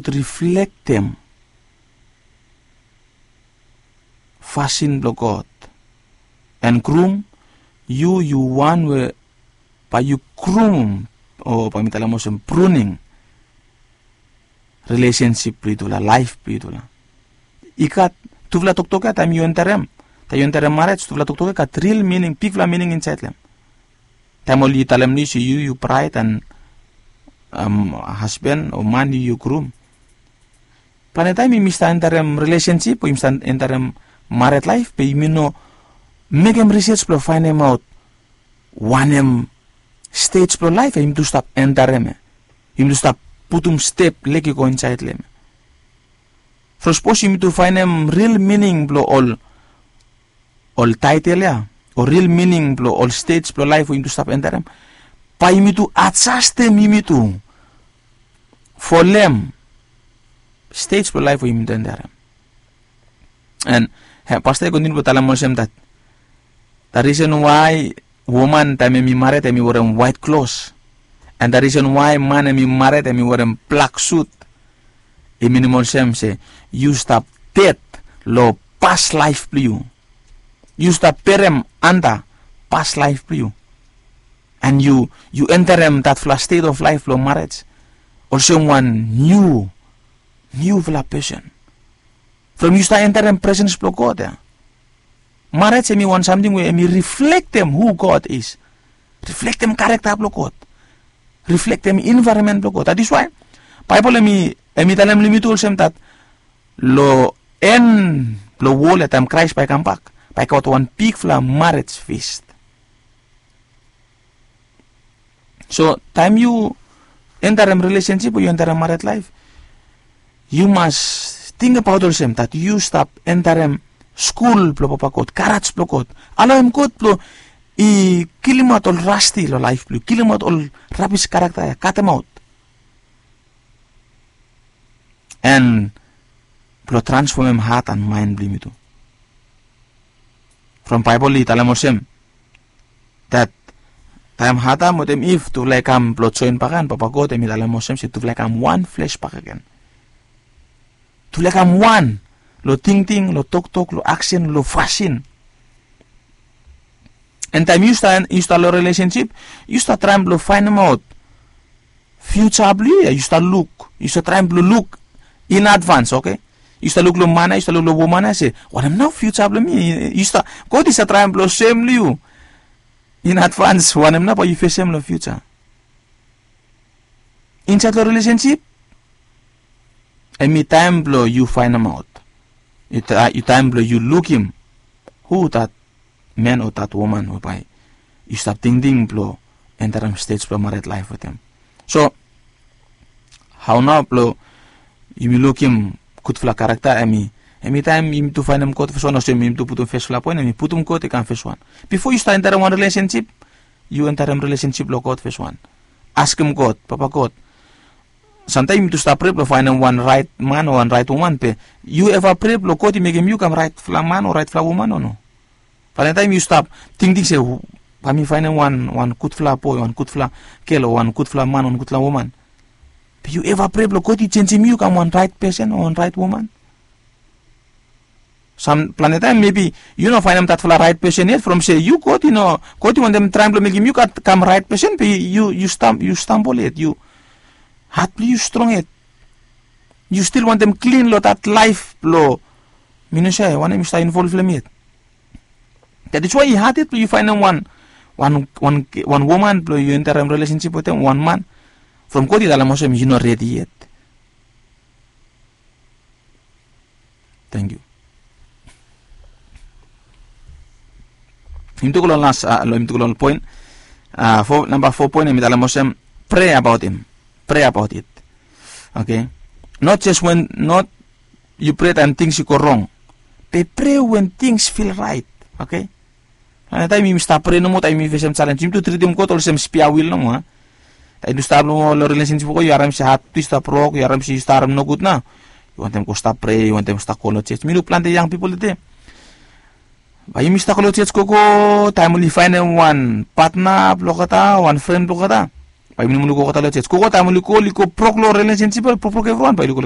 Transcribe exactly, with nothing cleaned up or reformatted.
riflektem fasin blong God. And grum, yu yu wan we bae yu grumum, o bae mi talem olsem pruning, rilesensip blong yutufala, laef blong yutufala. I gat tufala toktok ya, taem yu enterem, taem yu enterem marej, tufala toktok ya i gat ril mining, bigfala mining insaed long hem. Taem oli talem long yu se yu yu braed and hasben o man, yu yu grum. Plante taem yumi stap enterem rilesensip o yumi stap enterem mared laef, be yumi no mekem risej blong faenemaot wanem stej blong laef ya yumi tu stap enterem ya, yumi tu stap putum step lek i go insaed long hem ya. From sapos yumi tu faenem ril mining blong ol ol taetel ya, o ril mining blong ol stej blong laef we yumi tu stap enterem, bae yumi tu ajastem yumi tu folem stej blong laef we yumi tu enterem. And pasta i kontiniu blong talem olsem dat, the reason why woman taem hem i mared hem i werem waet klos, and the reason why man hem i mared hem i werem blak sut, i minim olsem se yu stap ded long pas laef blong yu. Yu stap berem anta pas laef blong yu. And yu yu enterem datfala stet of laef blong marej olsem wan niu, niufala pesen. From yu stap enterem presens blong God ya. Marej hem i wan samting we hem i riflektem hu God is, riflektem karekta blong God, riflektem envaeronmen blong God. That is why Baebol hem i hem i talem long yumi tu olsem dat long en blong wol ya, taem Kraes bae i kambak, bae i gat wan bigfala marej fis. So taem yu enterem rilesensip o yu enterem mared laef, yu mas tingbaot olsem dat yu stap enterem skul blong Papa God, garaj blong God. Alaoem God blong i kilimaot ol rasti long laef blong yu, kilimaot ol rabis karekta ya, katemaot. And blong transfomem hat and maen blong yumi tu. From Baebol i talem olsem dat taem Adam wetem Iv tufala i kam blong joen bakegen, Papa God hem i talem olsem se tufala i kam wan fles bakegen. Tufala i kam wan long tingting, long toktok, long aksen, long fasin. And taem yu stap yu stap long rilesensip, yu stap traem blong faenemaot fiuja blong yu ya, yu stap luk, yu stap traem blong luk in advans, oke? Yu stap luk long man ya, yu stap luk long woman ya se wanem nao fiuja blong mi? Yu stap, God i stap traem blong soem long yu in advans wanem nao bae yu fesem long fiuja. Insaed long rilesensip hem i taem blong yu faenemaot, i taem blong yu lukim hu dat man o dat woman we bae yu stap tingting blong enterem stej blong mared laef wetem. So hao nao blong yumi lukim gudfala karekta? Hem i hem i taem yumi tu faenem God feswan, olsem yumi tu putum fesfala poen, hem i putum God i kam feswan. Bifo yu stap enterem wan rilesensip, yu enterem rilesensip long God feswan. Askem God, Papa God, samtaem yumi tu stap prea blong faenem wan raet man o wan raet woman, be yu eva prea blong God i mekem yu kam raetfala man o raetfala woman o no? Falentaem yu stap tingting se bae mi faenem wan wan gudfala boe, wan gudfala gel o wan gudfala man, wan gudfala woman. Be yu eva prea blong God i jenjem yu kam wan raet pesen o wan raet woman? Sam plante taem mebi yu no faenem datfala raet pesen yet, from se yu God i no, God i wantem traem blong mekem yu kam raet pesen, be yu yu stambol yet, yu hat blong yu strong yet. Yu stil wantem klin long dat laef blong mi no save wanem yu stap involv long hem yet. That is why i had yet blong yu faenem wan wan wan wan woman blong yu enterem rilesensip wetem, wan man, from God i talem olsem yu no redi yet. Tangkiu. Yumi tu go long las, long yumi tu go long poen, namba fo poen, yumi talem olsem, prea abaot hem. Prea abaot it. Oke. Not jes wen not yu prea taem tings i go rong, be prea wen tings fil raet. Oke. Ane taem yumi stap prea nomo taem yumi fesem jalenj, yumi tu tritim God olsem spia wil nomo a. Taem yu stap long rilesensip blong God, yu harem se hat tu i stap rok, yu harem se yu stap harem nogud nao, yu wantem go stap prea, yu wantem stap go long jej. Mi luk plante yang pipol tede bae yumi stap go long jej gogo, taem oli faenem wan patna blong olgeta, wan fren blong olgeta, bae yumi no moa oli go olgeta long jej gogo. Taem oli go oli go brok long rilesensip, oli brokbrok evriwan, bae oli go oli